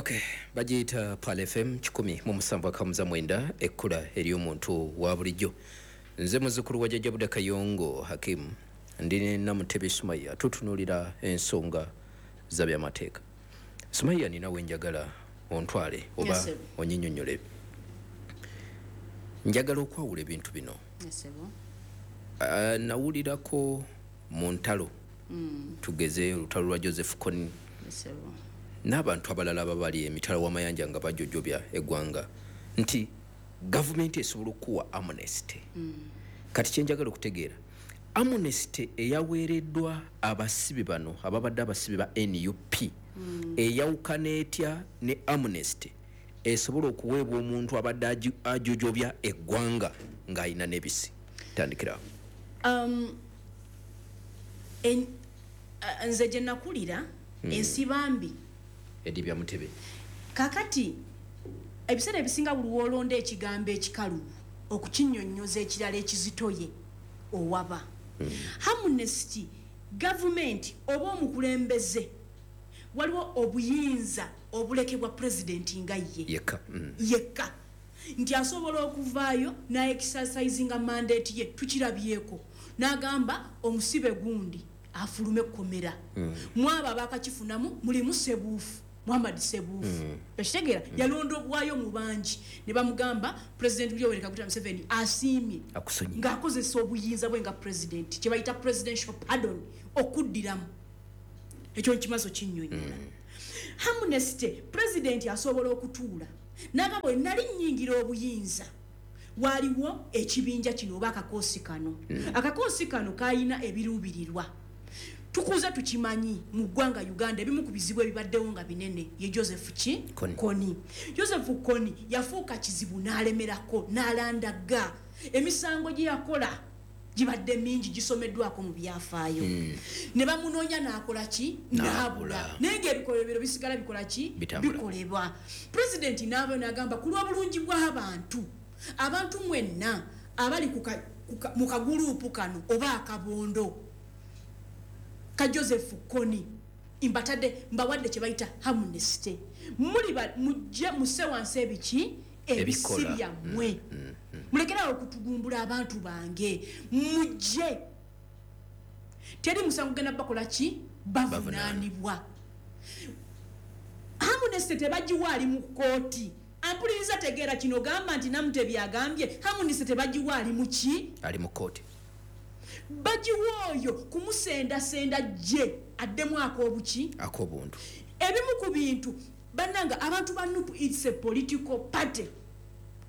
Okay, bagiyita Pal FM 107.9, ekkula ery'omuntu wa bulijjo. Nze muzzukulu wa Jjajja Buda Kayongo Hakimu, ndi ne Namutebi Sumaya, tutunuulira ensonga za byamateeka. Sumaya, nina we njagala ontwale oba Yes, sir. onyinyonnyole. Njagala okwawula ebintu bino. Yes, sir. Nawulirako mu ntalo, tugeze olutalo lwa Joseph Kony Yes, sir. n'abantu abalala ababali emitala w'amayanja nga bajojobya eggwanga, nti gavumenti esobola okuwa amnesty. Kati kyenjagala okutegeera, amnesty eyaweereddwa abasibe bano ababadde abasibe ba NUP eyawukana etya ne amnesty esobola okuweebwa omuntu abadde ajojobya eggwanga ng'alina n'ebisi? Tandikirawo. Nze gye nakulira, ensibambi Edibya Mutebe. Kakati ebiseera ebisinga buli woolonda ekigambo ekikalubu okukinyonnyoza ekirala ekizitoye owaba. Amnesty, gavumenti oba omukulembeze, waliwo obuyinza obulekebwa pulezidenti nga ye yekka. Yekka, nti asobola okuvaayo naexercisinga mandate ye. Tukirabyeko n'agamba omusibe gundi afulume ekkomera. Mwabo abakakifunamu mulimu Sebuufu, Muhammad Sebuufu, ekitegeera yalondobwayo mu bangi ne bamugamba President Yoweri Kaguta Museveni asiimye akusonyiye ng'akozesa obuyinza bwe nga president, kyebayita presidential pardon, okuddiramu ekyo nkimazo kinnyonnyola. Amnesty, president asobola okutuula nagamba, "Bwe nali nnyingira obuyinza, waaliwo ekibinja kino oba akakoosi kano. Akakoosi kano kalina ebiruubirirwa." Tukuze tukimanyi mu ggwanga Uganda, ebimu ku bizibu ebibaddewo nga binene ye Joseph ki Kony. Kony. Joseph Kony yafuuka kizibu n'alemerako n'alandaga. Emisango gye yakola gibadde mingi, gisomeddwako mu byafaayo. Ne bamunoonya n'akola ki? N'abula. N'abula, naye ngaebikolobero bisigala bikola ki? Bitambula. Bikolebwa. Pulezidenti n'avayo n'agamba, ku lw'obulungi bw'abantu, abantu mwenna abali mu kaguluupu kano oba akabondo ka Joseph Kony, mbatadde, mbawadde kye bayita amnesty. Muli mujje musse wansi ebiki, ebisi Ebikola. byammwe, mulekerawo okutugumbula abantu bange, mujje, teri musango genda bakola ki, bavunaanibwa. Amnesty tebagiwa ali mu kooti. Ampuliriza, tegeera kino, gamba nti Namutebi agambye amnesty tebagiwa ali mu ki? Ali mu kooti. Bagiwa oyo kumusendasenda gye addemu ak'obuki? Ak'obuntu. Ebimu ku bintu, bannanga, abantu ba NUP, it's a political party.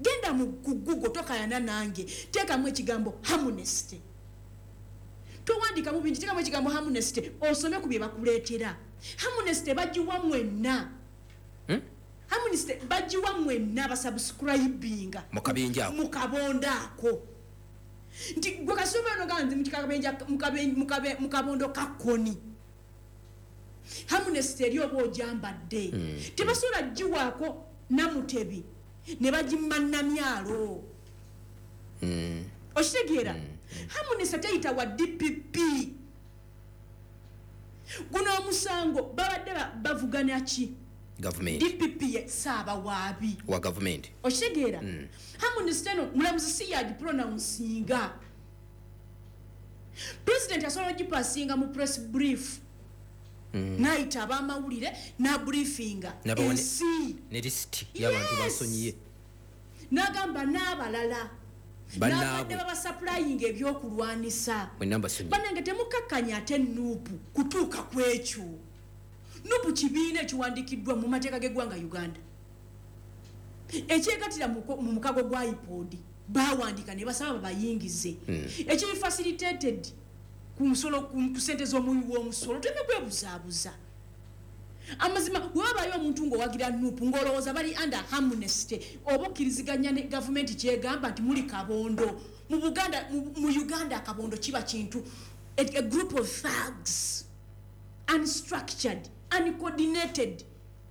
Genda mu ku Google, tokayana nange, teekamu ekigambo amnesty, towandikamu bingi, teekamu ekigambo amnesty osome ku bye bakuleetera. Amnesty bagiwa mwenna. Amnesty bagiwa mwenna basubscribinga Mu kabinja ako. mu kabondo ako, nti gwe kasomero nogaa nti mu kabondo ka Kony, amnesty eri oba ogyambadde. Tebasobola giwaako Namutebi ne bagimma Namyalo. Okitegeera? Amnesty teyita wa DPP. Guno omusango babadde bavuganya ki? Gavumenti. DPP ye saabawaabi wa gavumenti. Okitegeera? Amnesty eno mulamuzi si yagipronouncinga. President asobola ogipasinga mu press brief, nayita abamawulire nabriefinga N'abawa ensi ne lisiti y'abantu basonyiye. N'agamba n'abalala Bannaabwe. n'abadde babasupplyinga ebyokulwanisa, mwenna mbasonyiye. Bannange, temukakkanya ate NUP kutuuka ku ekyo. NUP kibiina ekiwandiikiddwa mu mateeka g'eggwanga Uganda, ekyegatira mu mukago gwa IPOD. Bawandiika ne basaba babayingize, ekiri facilitated ku musolo, ku sente z'omuwi w'omusolo. Tuleme kwebuzaabuza. Amazima, wewabayo omuntu ng'owagira NUP ng'olowooza bali under amnesty oba okkiriziganya ne gavumenti kyegamba nti muli kabondo mu Buganda, mu Uganda akabondo kiba kintu, a group of thugs, unstructured, uncoordinated,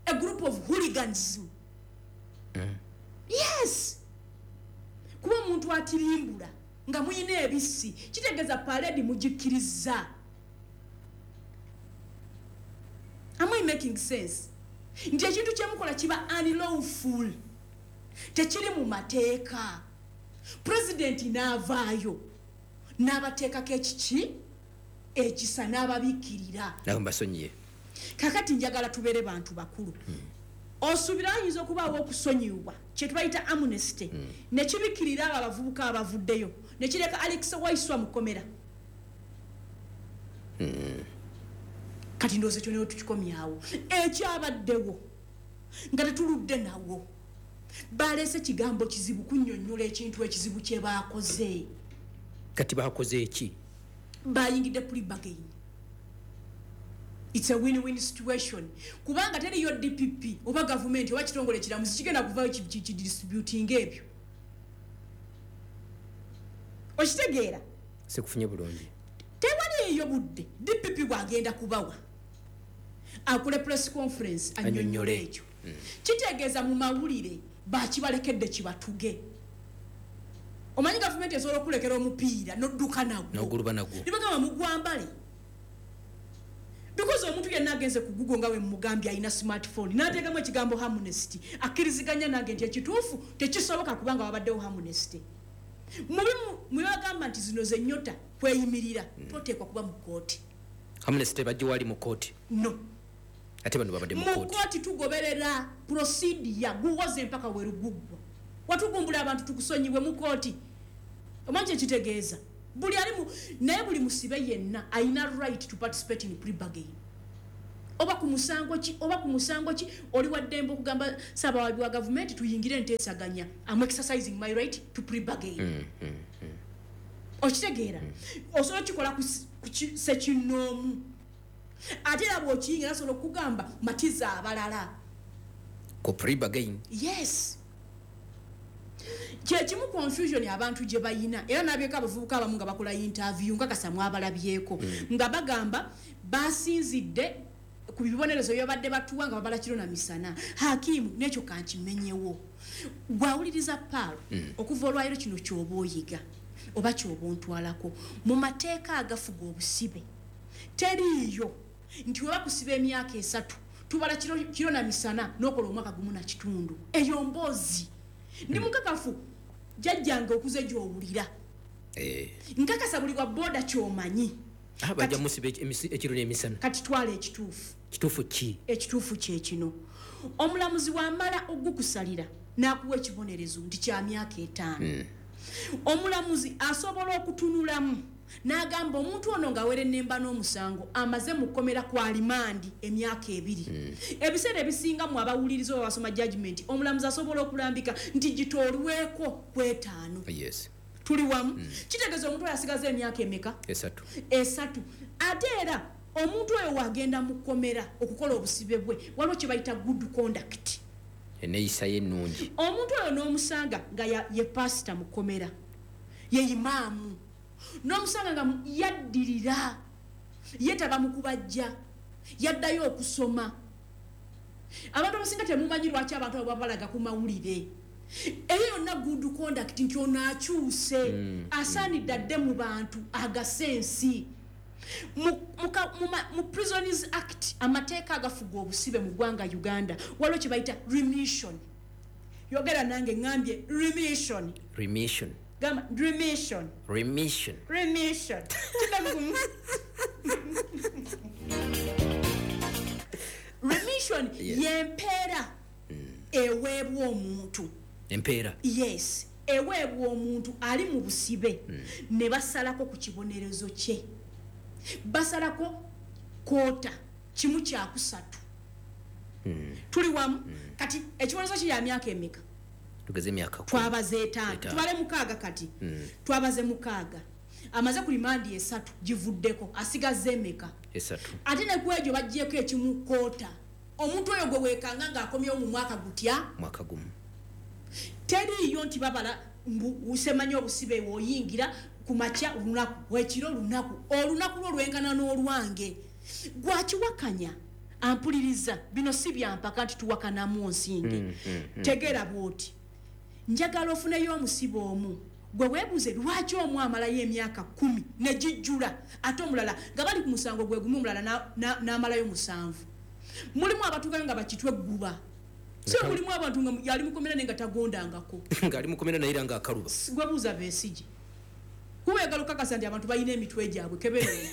a group of hooligans. Yes, kuba omuntu atirimbula nga muyina ebisi kitegeeza parade mugikkiriza. Am I making sense? Nti ekintu kyemukola kiba unlawful, tekiri mu mateeka. Pulezidenti n'avaayo n'abateekako ekiki ekisa n'ababikkirira. Nabasonyiye. Kakati njagala tubeere bantu bakulu. Osuubira ayinza okubaawo okusonyiwibwa kyetubayita amnesty, nekibikkirira abo abavubuka abavuddeyo, nekireka Alex Waiswa mukomera? Kati ndowooza ekyo newe tukikomyawo. Ekyabaddewo nga tetuludde nawo, baleese kigambo kizibu kunnyonnyola ekintu ekizibu kye baakoze. Kati bakoze eki? Bayingidde plea bargain. It's a win-win situation, kubanga teriyo DPP oba gavumenti oba kitongole kiramuzi kigenda kuvayo kidisputing ebyo. Okitegeera? Sikufunye bulungi. Tewaliyo budde DPP bwagenda kubawa akole press conference annyonnyole ekyo. Kitegeeza mu mawulire bakibalekedde kibatuge. Omanyi gavumenti esobola okulekera omupiira nodduka nagwo, noguluba nagwo, nibagamba mugwambale, because omuntu yenna agenze ku Google nga we mugambye alina smartphone n'ateekamu ekigambo amnesty, akkiriziganya nange nti ekituufu tekisoboka, kubanga wabaddewo amnesty. Mubimu mwebagamba nti zino zennyota kweyimirira, toteekwa kuba mu kkooti. Amnesty bagiwali mu kkooti? No. Ate bano babadde mu mu kkooti. Kkooti tugoberera procedure, guwoze mpaka weruguggwa. Watugumbula abantu, tukusonyiwe mu kkooti. Omanyi kyekitegeeza? Buli ali mu, naye buli musibe yenna alina right to participate in plea bargain. Oba ku musango ki, oba ku musango ki, oli wa ddembe okugamba ssaabawaabi wa gavumenti tuyingire enteesaganya, am exercising my right to plea bargain. Okitegeera? Osobola okikola ku ssekinnoomu. Ate era bw'okiyingira asobola okugamba matiza abalala ku plea bargain. Yes, kyekimu confusion abantu gye bayina. Era nabyeko abavubuka abamu nga bakola interview, nga kasamu abalabyeko, nga bagamba basinzidde ku bibonerezo byabadde batuwa nga babala kiro na misana. Hakimu, n'ekyo kankimenyewo. Gwawuliriza paalo, okuva olwaliro kino ky'oba oyiga oba ky'oba ontwalako mu mateeka agafuga obusibe, teriiyo nti weba kusiba emyaka 3 tubala kiro na misana n'okola omwaka 1.5. Eyo mboozi. Ndi mukakafu jjajjange okuze gy'owulira. Nkakasa buli wa boda ky'omanyi. Bajja musiba ekiro n'emisana. Kati twala ekituufu. Kituufu ki? Ekituufu kye kino: omulamuzi wamala ogukusalira n'akuwa ekibonerezo nti kya myaka 5, omulamuzi asobola okutunulamu n'agamba omuntu ono ng'awerennemba n'omusango amaze mu kkomera kwa limandi emyaka 2. Ebiseera ebisinga mu abawuliriza oba basoma judgment, omulamuzi asobola okulambika nti gitoolweko ku 5. Tuli wamu? Kitegeeza omuntu oyo asigaza emyaka emeka? 3. 3. Ate era omuntu oyo wagenda mu kkomera okukola obusibe bwe, waliwo kye bayita good conduct, enneeyisa ye ennungi. Omuntu oyo n'omusanga nga ye pasita mu kkomera, ye imaamu, n'omusanga nga yaddirira, yeetaba mu kubajja, yaddayo okusoma. Abantu abasinga temumanyi lwaki abantu abo babalaga ku mawulire. Eyo yonna good conduct, nti ono akyuse, asaanidde adde mu bantu agase ensi. Mu Prisons Act, amateeka agafuga obusibe mu ggwanga Uganda, waliwo kye bayita remission. Yogera nange, ŋŋambye remission. Remission. Gamba remission. Remission. Remission. Kiddamu. Remission yempeera eweebwa omuntu. Empeera? Yes, eweebwa omuntu ali mu busibe, ne basalako ku kibonerezo kye, basalako quarter, 1/3. Tuli wamu? Kati ekibonerezo kye ya myaka emeka? Tugeze emyaka 10. Twabaze 5. 5. Tubale 6 kati. Twabaze 6, amaze ku limandi 3, givuddeko, asigaze emeka? 3. Ate ne ku egyo baggyeko ekimu quarter. Omuntu oyo gwe weekanga ng'akomyewo mu mwaka gutya? Mwaka 1. Teriiyo nti babala mbu usemanyi obusibe bw'oyingira ku makya olunaku, ekiro olunaku, olunaku lwo lwenkana n'olwange. Gwakiwakanya ampuliriza, bino si byampaka nti tuwakanamu nsinge. Tegeera bw'oti, njagala ofuneyo omusibe omu gwe weebuuze lwaki omu amalayo emyaka 10 ne gijjula, ate omulala nga bali ku musango gwe gumu, omulala n'amalayo 7. Mulimu abatuukayo nga bakitwe egguba. So mulimu abantu nga yali mukomera naye nga tagondangako. Ng'ali mukomera naye era ng'akaluba. Gwe buuza Besigye. Kuba oyagala okukakasa nti abantu balina emitwe gyabwe kebere.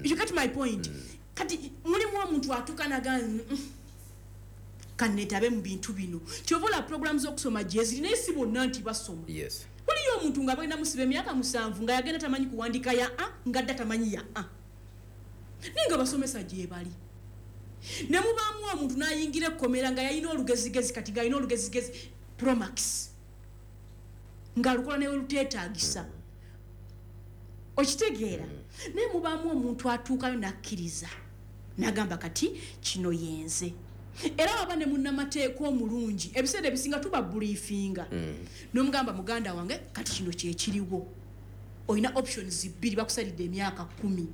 You get my point? Kati mulimu omuntu atuuka n'agamba kanneetabe mu bintu bino. Kyova olaba programu z'okusoma gyeziri naye si bonna nti basoma. Yes. Waliyo omuntu nga bagenda musiba emyaka 7 nga yagenda tamanyi kuwandiika ya A nga dda tamanyi ya A. Naye nga basomesa gye bali. Ne mubaamu omuntu n'ayingira ekkomera nga yalina olugezigezi, kati ng'alina olugezigezi Promax. Ng'alukola ne luteetaagisa. Okitegeera? Naye mubaamu omuntu atuukayo n'akkiriza. N'agamba kati kino yenze. Era waba ne munnamateeka omulungi, ebiseera ebisinga tuba briefinga. N'omugamba muganda wange kati kino kye kiriwo. Olina options 2, bakusalidde emyaka 10.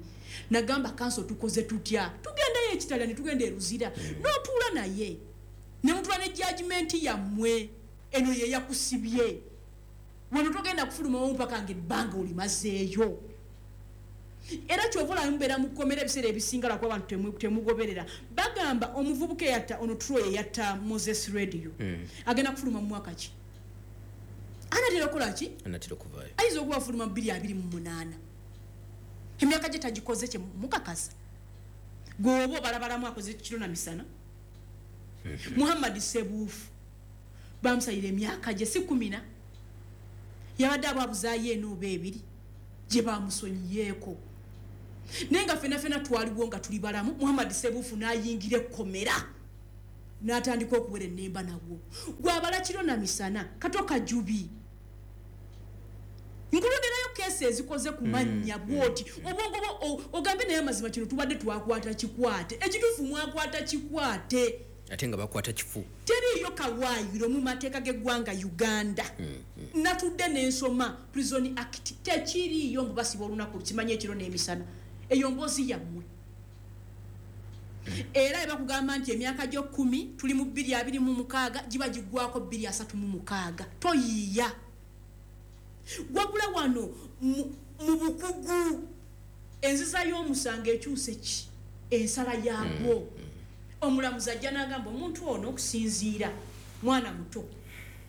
Nagamba kanso tukoze tutya? Tugendayo ekitala ne tugenda e Luzira. N'otuula naye. Ne mutula ne judgment yammwe. Eno ye yakusibye. Wano togenda kufulumawo mpaka ng'ebbanga olimazeeyo. Era kyova olaba mubeera mu kkomera ebiseera ebisinga lwakuba abantu temugoberera. Bagamba omuvubuka eyatta ono Troy eyatta Moses Radio. Agenda kufuluma mu mwaka ki? Anatera okukola ki? Anatera okuvaayo. Ayinza okuba afuluma mu 2028. Emyaka gye tagikoze kye mukakasa. Gwe oba obalabalamu akoze kiro na misana. Muhammad Sebuufu bamusalira emyaka gye si 10. Yabadde ababuzaayo eno oba 2 gye bamusonyiyeeko. Naye nga ffenna ffenna twaliwo nga tuli balamu, Muhammad Sebuufu n'ayingira ekkomera n'atandika okuwera ennemba nabwo. Gw'abala kiro na misana, Kato Kajubi. Nkulonderayo keesi ezikoze ku mannya bw'oti. Obwongo bwo ogambe naye amazima kino tubadde twakwata kikwate. Ekituufu mwakwata kikwate. Ate nga bakwata kifu. Teriiyo kawaayiro mu mateeka g'eggwanga Uganda. Natudde n'ensoma Prison Act. Tekiriiyo mbu basiba olunaku kimanye ekiro n'emisana. Eyo mboozi yammwe. Era bakugamba nti emyaka gyo 10 tuli mu 2026 giba giggwako 2036. Toyiiya. Wabula wano mu bukugu enziza y'omusango ekyuse ki? Ensala yaagwo. Omulamuzi ajja n'agamba omuntu ono okusinziira mwana muto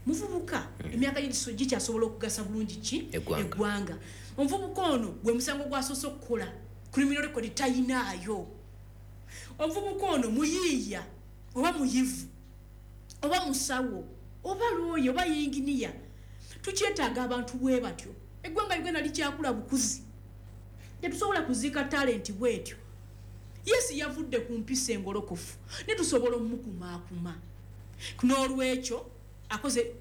muvubuka emyaka gye gikyasobola okugasa bulungi ki? Eggwanga. Omuvubuka ono gwe musango gwasoose okukola criminal record tayinaayo. Omuvubuka ono muyiiya oba muyivu oba musawo oba looya oba yinginiya. Tukyetaaga abantu bwe batyo. Eggwanga Uganda likyakula bukuzi. Tetusobola kuziika talenti bwetyo. Yesu yavudde ku mpisa engolokofu ne tusobola omukumaakuma. N'olwekyo akoze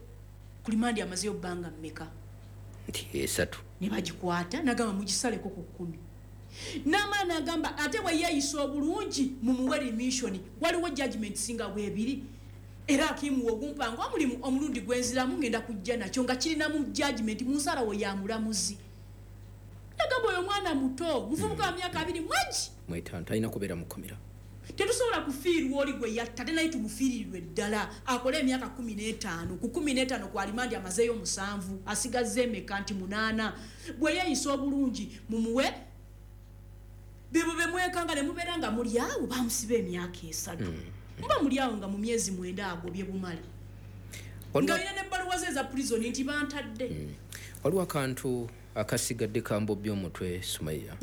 kulimandi amazeeyo bbanga mmeka? Nti 3. Ne bagikwata n'agamba mugisaleko ku 10. N'amala n'agamba ate bwe yeeyisa obulungi mumuwe remission. Waliwo judgment singa bwebiri. Era akimuwa ogumpango omulimu omulundi gwenziramu ngenda kujja nakyo nga kirinamu judgment mu nsalawo ya mulamuzi. Nagamba oyo mwana muto muvubuka wa myaka 2 mwegi. 5 talina kubeera mu kkomera. Tetusobola kufiirwa oli gwe yatta ate naye tumufiirirwe ddala akole emyaka 15. Ku 15 ku alimandi amazeeyo 7 asigazza emeka nti 8. Bwe yeeyisa obulungi mumuwe bebo be mwekanga ne mubeera nga muli awo bamusiba emyaka 3. Muba muli awo nga mu myezi 9 agobye bumale. Ng'alina n'ebbaluwa ze eza prison nti bantadde. Waliwo akantu akasigadde kambobya omutwe Sumaiya.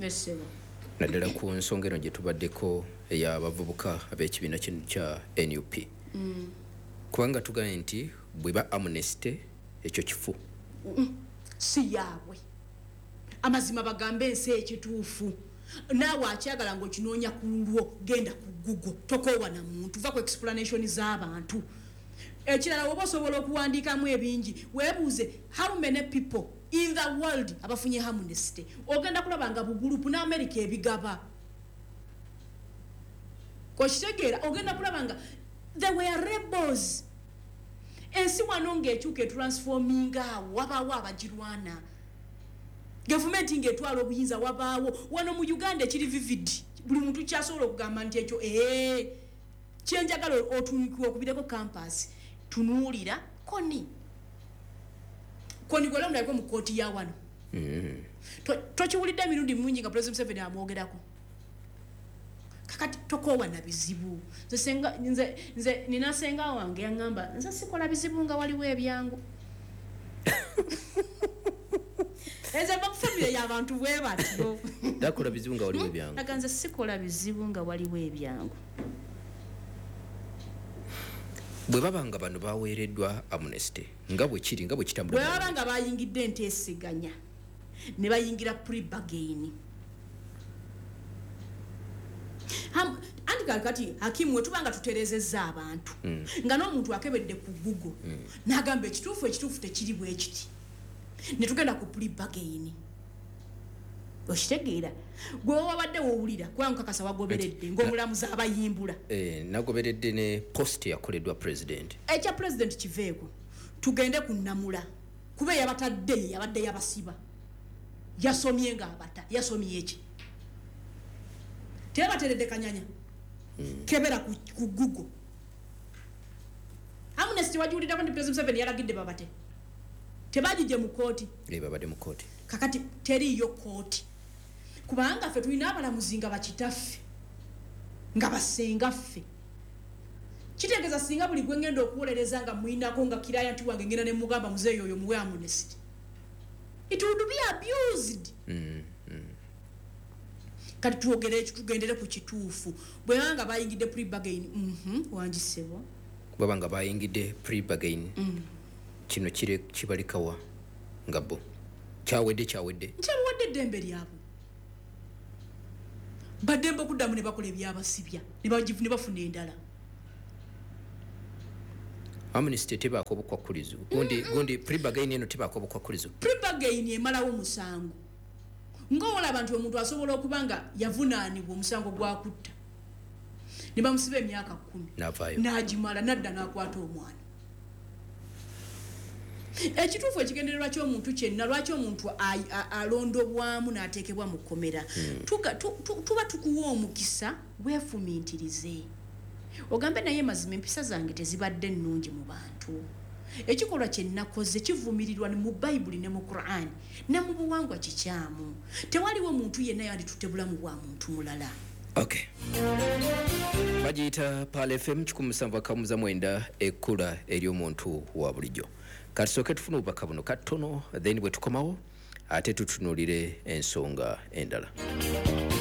Naddala ku nsonga eno gye tubaddeko ey'abavubuka ab'ekibiina kya NUP. Kubanga tugambye nti bweba amnesty ekyo kifu. Si yaabwe. Amazima bagambe ensi ekituufu. Naawe akyagala ng'okinoonya ku lulwo genda ku Google tokoowa na muntu va ku explanation z'abantu. Ekirala oba osobola okuwandiikamu ebingi weebuuze how many people in the world abafunye amnesty. Ogenda kulaba nga bugulupu n'Amerika ebigaba. Okitegeera ogenda kulaba nga they were rebels. Ensi wano ng'ekyuka etransforminga awo wabaawo abagirwana. Gavumenti ng'etwala obuyinza wabaawo. Wano mu Uganda ekiri vivid buli muntu kyasobola okugamba nti ekyo kyenjagala otunukiwe okubireko campus tunuulira koni. Koni gwala mulabiko mu kkooti ya wano. Tokiwulidde emirundi mingi nga President Museveni amwogerako. Kakati tokoowa na bizibu. Nze nina senga wange yaŋŋamba nze sikola bizibu nga waliwo ebyangu. Nze mba ku famire y'abantu bwe batyo. Takola bizibu nga waliwo ebyangu. Aga nze sikola bizibu nga waliwo ebyangu. Bwe baba nga bano baweereddwa amnesty nga bwe kiri, nga bwe kitambula, bwe baba nga bayingidde enteeseganya ne bayingira pre-bargain. Anti kakati Hakimu, we tuba nga tuterezezza abantu nga n'omuntu akebedde ku Google n'agamba ekituufu tekiri bwe kiti, ne tugenda ku pre-bargain. Okitegeera? Gwe wabadde wowulira kubanga nkakasa wagoberedde ng'omulamuzi abayimbula. Nagoberedde ne post yakoleddwa president. Ekya president kiveeko, tugende ku nnamula, kuba eyabatadde ye yabadde yabasiba, yasomye ng'abata. Yasomye eki? Tebateredde kanyanya. Kebera ku Google. Amnesty wagiwuliddako nti President Museveni yalagidde babate? Tebagijje mu kooti? Babadde mu kooti. Kakati teriiyo kooti, kubanga ffe tulina abalamuzi nga bakitaffe, nga basengaffe. Kitegeeza singa buli gwe ngenda okuwolereza nga muyinako nga client wange, ngenda ne mugamba, "Muzeeyi oyo muwe amnesty," it would be abused. Kati twogere ekyo, tugendere ku kituufu. Bwe banga bayingidde pre-bargain, wangisebo. Baba nga bayingidde pre-bargain, kino kire kibalikawa nga bo kyawedde, kyawedde? Nkyabawadde eddembe lyabwe, baddembe okuddamu ne bakola ebyabasibya ne bafuna endala. Amnesty tebaako obukwakkulizo? Gundi pre-bargain eno tebaako obukwakkulizo? Pre-bargain emalawo musango. Ngaolaba nti omuntu asobola okuba nga yavunaanibwa omusango gwa kutta ne bamusiba emyaka 10, N'avaayo. n'agimala, nadda n'akwata omwana. Ekituufu, ekigendererwa ky'omuntu kyenna lwaki omuntu alondobwamu n'ateekebwa mu kkomera, tuba tukuwa omukisa weefumintirize, ogambe, "Naye mazima empisa zange tezibadde nnungi mu bantu. Ekikolwa kye nakoze kivumirirwa mu Bayibuli ne mu Quran ne mu buwangwa, kikyamu. Tewaliwo muntu yenna yanditutte bulamu bwa muntu mulala." Okay, bagiyita Pal FM 107.9, ekkula ery'omuntu wa bulijjo. Katusooke tufune obubaka buno katono, then bwe tukomawo ate tutunuulire ensonga endala.